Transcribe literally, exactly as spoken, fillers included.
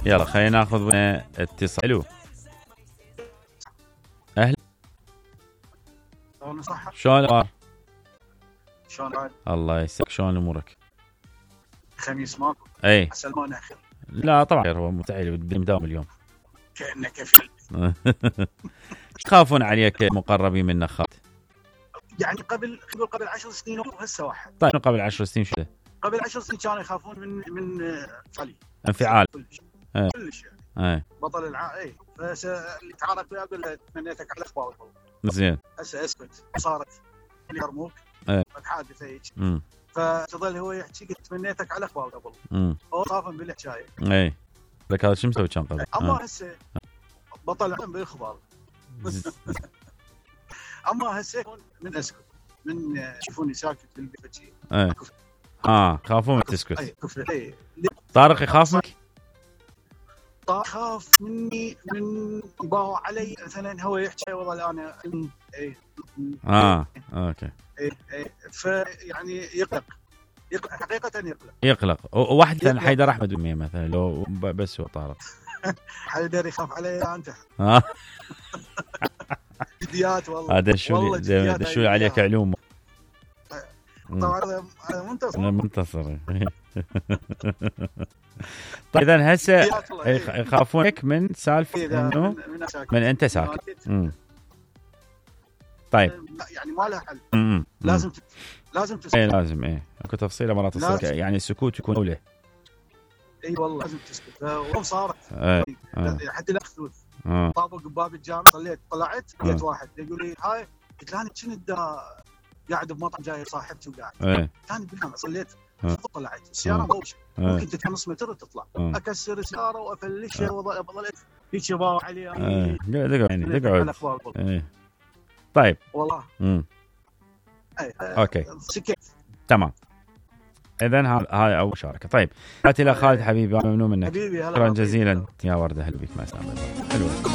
يلا خلينا ناخذ اتصال. الو اهلا. شلون الأخبار؟ شلون الله يسعدك، شلون امورك؟ خميس ماكو؟ اي سلمان اخر. لا طبعا هو متعيل مداوم اليوم. كانك كفيل. تخافون عليك مقربين منك خالد؟ يعني قبل قبل قبل عشر سنين وهسه واحد. طيب قبل عشر سنين شو؟ قبل عشر سنين كانوا يخافون من من علي. انفعال. كلش ايه. كلش يعني. ايه. بطل الع اي فس اللي تعارك وياه اقول له تمنيتك على اخبار. زين. هسه اسكت صارت اللي يرموك. ايه. حادثه هيك. امم فتظل هو يحكي قلت تمنيتك على اخبار قبل. امم هو خافن بالحكايه. اي لك هذا شو مسوي كان قبل؟ اما هسه بطل بالاخبار. اما هسه من اسكت من يشوفوني ساكت بالبيت شيء. ايه. اه خافون من تسكت. اي كفر اي. طارق يخاف منك؟ طارق خاف مني من باو علي مثلا هو يحكي والله انا اي اه اوكي. اي اي فيعني يقلق يقلق حقيقه يقلق يقلق. واحد حيدر احمد امي مثلا لو بس هو طارق. حيدر يخاف علي انت. اه جديات والله. هذا شو دشوا عليك علوم. طبعا هذا منتصر. انا منتصر. طيب اذا هسه يخافونك من سالفه انه من انت ساكت. امم طيب يعني ما لها حل. امم لازم ت... لازم تسكت. اي لازم ايه اكو تفصيله مرات تصير يعني السكوت يكون اولى. اي والله لازم تسكت. وهم صارت ايه. حتى الاخذوذ طابق بباب الجامع صليت طلعت لقيت واحد يقول لي هاي قلت له انا كنت قاعد بمطعم جاي صاحبتي وقاعد ايه. ثاني بالجامع صليت طلعت السياره مبوشه ممكن تطلع نص متر وتطلع أه. اكسر السياره وافلشها أه. وظلت هيك يباوع علي ايه دقعد يعني دقعد. ايه طيب والله امم ايه. اوكي سكت تمام. اذا هذا هاي اول مشاركه. طيب هات الى خالد حبيبي ممنون منك. حبيبي هلا شكرا جزيلا يا ورده. هلا بك. مع السلامه. حلوه.